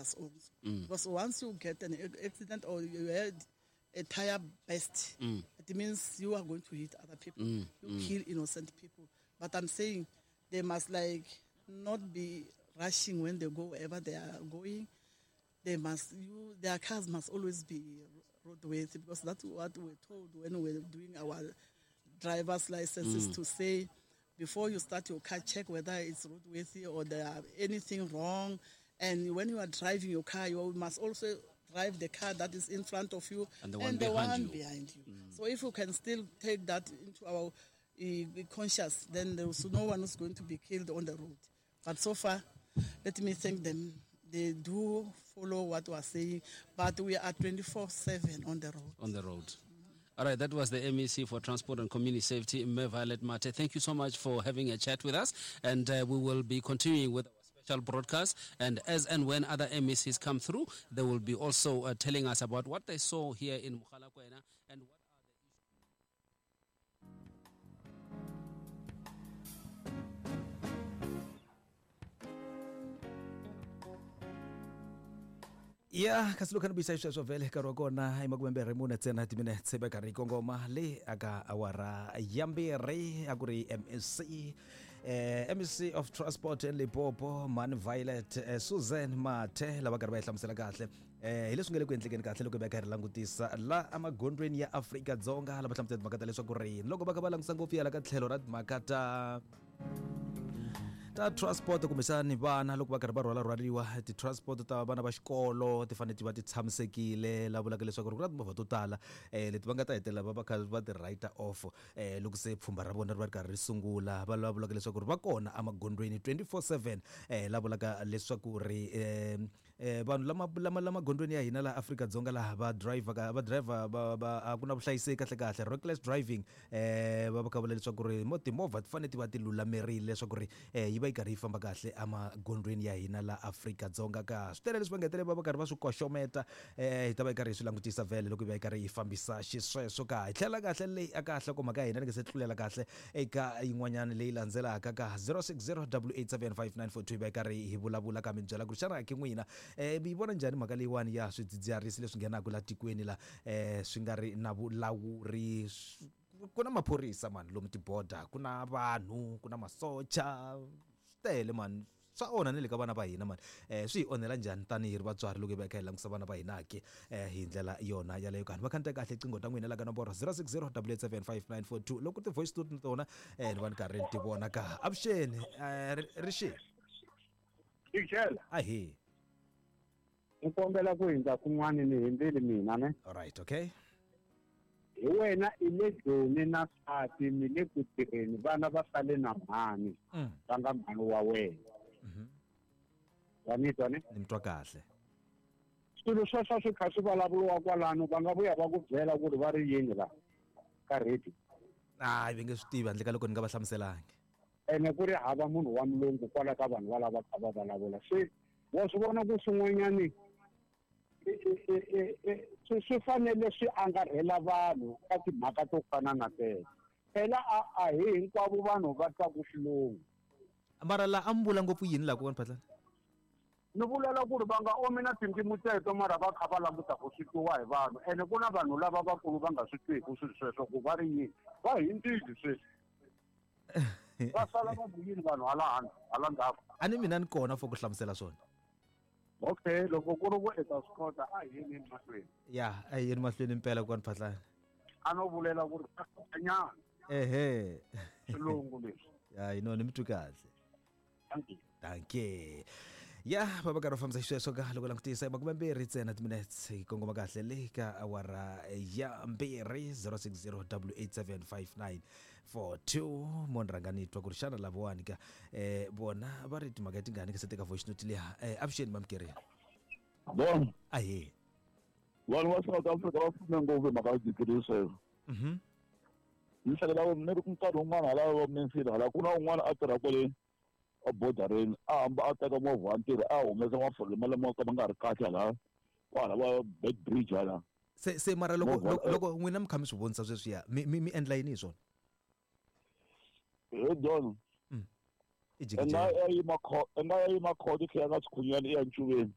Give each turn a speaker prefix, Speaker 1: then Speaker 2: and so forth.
Speaker 1: others also. Because once you get an accident or you had a tire burst, it means you are going to hit other people. You kill innocent people. But I'm saying they must like not be rushing when they go wherever they are going. They must you their cars must always be roadworthy, because that's what we're told when we're doing our driver's licenses to say before you start your car, check whether it's roadworthy or there are anything wrong. And when you are driving your car, you must also drive the car that is in front of you
Speaker 2: And the one behind
Speaker 1: one
Speaker 2: you.
Speaker 1: behind you. So if you can still take that into our conscious, then there is no one is going to be killed on the road. But so far, let me thank them. They do follow what we are saying, but we are 24/7 on the road.
Speaker 2: On the road. All right, that was the MEC for Transport and Community Safety, Mme Violet Mathe. Thank you so much for having a chat with us, and we will be continuing with our special broadcast. And as and when other MECs come through, they will be also telling us about what they saw here in Mogalakwena and what are the
Speaker 3: Ya kasi loko ni vuyisa xisweswo vhele nkarhi wa kona i makumembirhi mune ntsena timinetse va karhi yi kongoma le aka awara ya mbirhi a ku ri MEC MEC of Transport in Limpopo Man Violet Susan Mathe lava karhi va yi hlamusela kahle hi leswi nga le ku endlekeni kahle loko hi va karhi langutisa la emagondzweni ya Afrika-Dzonga lava hlamusela timhaka ta leswaku ri loko va kha va langutisa ngopfu yala ka tlhelo ra timhaka ta transport kumbexani vana loko va karhi va rhwalarhwariwa ti-transport ta vana va xikolo ti fanele ti va ti tshamisekile la vulaka leswaku ri ku na timovha to tala leti va nga ta hetelela va va kha va ti write off loko se pfhumba ra vona ri va ri karhi ri sungula va lava vulaka leswaku ri va kona emagondzweni 24/7 la vulaka leswaku ri vanhu lama lama lama gondzweni ya hina laha Afrika-Dzonga laha va driver va driver va va a ku na vuhlayiseki kahle kahle reckless driving va va kha vula leswaku ri mo timovha ti fanele ti va ti lulamerile leswaku ri yi va yi karhi yi famba kahle emagondzweni ya hina laha Afrika-Dzonga ka swi tele leswi va nga hetelela va va karhi va swi koxometa hi ta va yi karhi hi swi langutisa vhele loko yi va yi karhi yi fambisa xisweswo ka hi tlhela kahle leyi a ka nhlokomhaka ya hina ni nga se tlulela kahle eka yin'wanyana leyi landzelaka ka 060 875 yi va yi karhi hi vulavula ka mi byela ku ri xana ke n'wina mi yi vona njhani mhaka leyiwani ya swidzidziharisi leswi nghenaka la tikweni la swi nga ri na vulawuri ku na maphorisa mani lomu tiboda ku na vanhu ku na masocha swi tele mani swa onha ni le ka vana va hina mani swi hi onhela njhani tanihi ri vatswari loko hi va hi kha hi langutisa vana va hina ke hi ndlela yona yaleyo kani va khandziya kahle qingho ta n'wina la ka nomboro 060 875 5942 loko ti-voice note na tona ni va ni karhi ni ti vona ka avuxeni rixini
Speaker 4: Ixela.
Speaker 3: Ahee.
Speaker 4: Ni kombela ku hindza kun'wana ni hindzile mina ne.
Speaker 3: All right, okay.
Speaker 4: Hi wena i le Joni na nsati mi le ku tirheni vana va sale na mhani va nga mhani wa wena. Wa ni twa ne?
Speaker 3: Ni mi twa kahle.
Speaker 4: Swilo sweswo swi kha swi vulavuriwa kwalano va nga vuya va ku byela ku ri va ri yini la ka radio.
Speaker 3: Hayi va nge swi tivi handle ka loko ni nga va hlamuselangi.
Speaker 4: Ene ku ri hava munhu wa mulungu kwala ka vanhu valava kha va vulavula se wa swi vona ku swin'wanyani swi fanele swi angarhela vanhu ka timhaka to fana na teto phela a hi hinkwavo vanhu va twaku xilungu.
Speaker 3: Mara la a mi vula ngopfu yini laha kokwana Phatlana?
Speaker 4: Ni vulela ku ri va nga omi na tindzimi teto mara va kha va languta ku swi twiwa hi vanhu ene ku na vanhu lava vakulu va nga swi twiku swilo sweswo ku va ri yini va hindzile sweswi va sala va ku yini vanhu hala handle hala ndzhaku.
Speaker 3: A ni mina ni kona for ku hlamusela swona.
Speaker 4: Okay, loko ku ri ku i ta swi kota a hi yeni emahlweni.
Speaker 3: Ya, a hi yeni mahlweni impela kokwana Phatlana.
Speaker 4: A no vulela ku ri nyana.
Speaker 3: Ehe.
Speaker 4: Xilungu leswi.
Speaker 3: Ya, no ni mi twi kahle.
Speaker 4: Thank you.
Speaker 3: Dankie. Ya, va va karhi va fambisa xisweswo ka loko langutisa makumembirhi ntsena timinutes hi kongoma kahle le ka awara ya mbirhi 060 875 5942 mo ni rhanga ni twa ku ri xana lavawani ka vona va ri timhaka tingani ka se teka voice note liya avuxeni mamkerini.
Speaker 5: Bon.
Speaker 3: Ahee.
Speaker 5: Vanhu va South Africa va pfume ngopfu hi mhaka ya swidzidzirisi sweswo. Ni hleketa ku ni ri nkarhi wun'wana hala va Mansfield hala ku na un'wana a tirha kwale ebodareni a hamba a teka movha wa ntirho a humesa mafole lama ka ma nga ri kahle hala kwala va Bed Bridge hala.
Speaker 3: Se se mara loko loko n'wina mi kha mi swi vonisa sweswiya mi mi mi endla yini hi swona?
Speaker 5: He John.
Speaker 3: I
Speaker 5: Nga ya yima kho nga ya yima khoto tlhela nga xikhunyana i ya ncuveni.